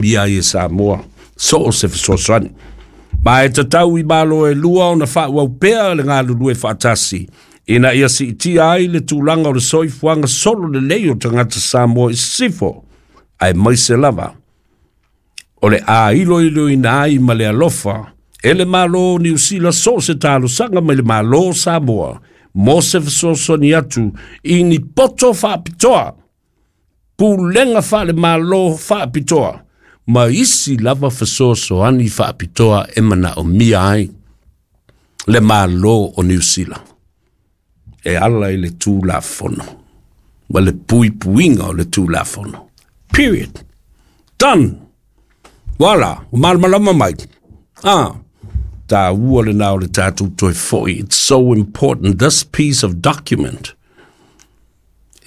manaomia ai e Samoa so o se fesoasoani. Ma e tatau i Malo e lua ona faaauau pea le galulue faatasi ina ia siitia ai le tulaga o le soifuaga solo lelei o tagata Samoa i sisifo, aemaise lava o le ailoiloina ai ma le alofa e le Malo o Niu Sila so o se talosaga mai le Malo o Samoa mo se fesoasoani atu i ni poto faapitoa, pulega faale-Malo faapitoa, ma isi lava fesoasoani faapitoa e manaomia ai le Malo o Niu Sila e ala i le Tulafono ma le puipuiga o le Tulafono. Period. Done. Voilà, malamalama mai. Ah, taua lena o le tatou toe foi. It's so important. This piece of document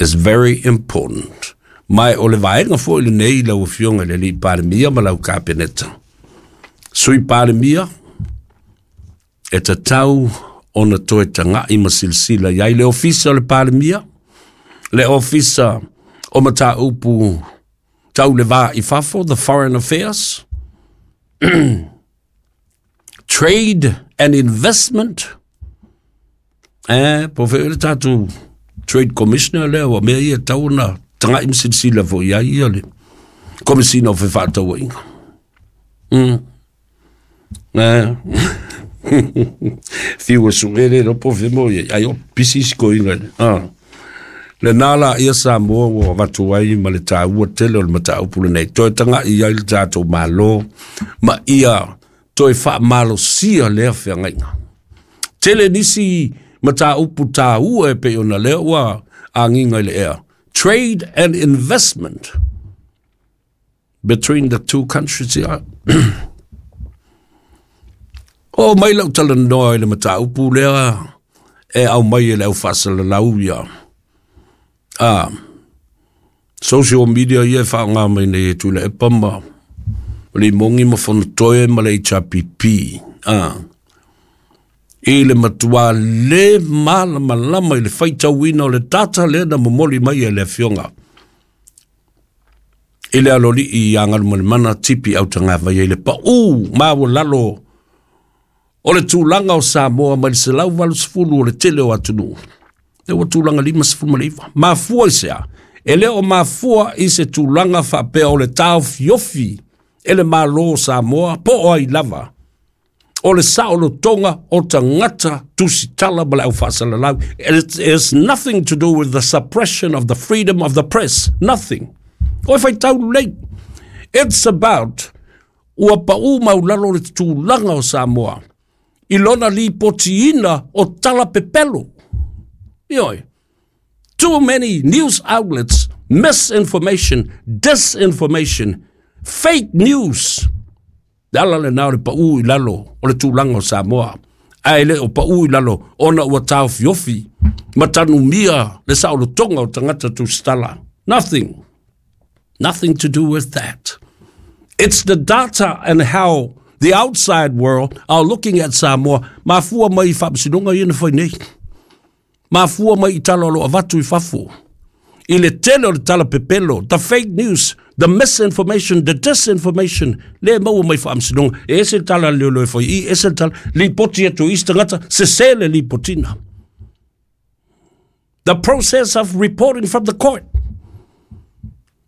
is very important. Ma o le vaega foi lenei lau Afioga i le Alii Palemia ma lau Kapeneta. Sui Palemia, e tatau ona toe tagai ma silasila i ai le Ofisa o le Palemia, le Ofisa o Mataupu Tau le Va i Fafo, the Foreign Affairs, Trade and Investment, po fe le tatou Trade Commissioner lea ua mea ia tau ona tagai ma silasila foi i ai ia le Komesina o Fefaatauaiga. Fiu e suele lo po fe mo ia ai o pisi isi koiga. Ah. Le nā la ia Samoa ua avatu ai ma le taua tele o le mataupu lenei. Toe tagai i ai le tatou Malo ma ia toe faamalosia lea feagaiga. Tele nisi mataupu taua e pei ona lea ua agiga i le ea. Trade and investment between the two countries. Ia. O mai lau talanoa i le mataupu lea e au mai e le au faasalalau ia. Ah, social media ia e whaonga mai nei e tula e pama. Le mongi ma fonotoe ma le HRPP. Ah. I le matua le malamalama i le faitauina o le data lea na momoli mai e le Afioga i le alolii ia Galumalemana Tipi Autagavaia i le pau maualalo o le tulaga o Samoa mai le 180 o le tele o atunuu. E ua tulaga 59. Mafua i sea, e le o mafua i se tulaga faapea o le taofiofi e le Malo o Samoa po o ai lava o le saolotoga o tagata tusitala ma le au faasalalau. It is nothing to do with the suppression of the freedom of the press. Nothing. O e faitau lelei. It's about ua pau maulalo le tulaga o Samoa i lona lipotiina o tala pepelo. Ioe. Too many news outlets, misinformation, disinformation, fake news. Le ala lena o le pau i lalo o le tulaga o Samoa. Ae le o pau i lalo ona ua taofiofi ma tanumia le saolotoga o tagata tusitala. Nothing. Nothing to do with that. It's the data and how the outside world are looking at Samoa. Mafua mai i faamasinoga ia na fai nei. Mafua mai i tala o lo o avatu i fafo. I le tele o le tala pepelo, the fake news, the misinformation, the disinformation, le maua mai faamasinoga. E ese le tala a le leoleo e fai i, ese le tala, lipoti atu i isi tagata, sese le lipotina. The process of reporting from the court.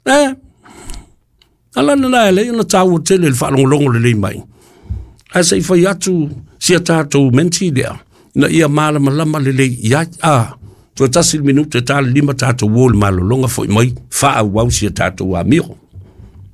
Ala lena e lei ona taua tele le faalogologo lelei mai. Ae se i fai atu sia tatou menti lea, ina ia malamalama lelei i ai. A, toe tasi le minute ta le lima tatou o le malologa foi mai, faaauau sia tatou amio.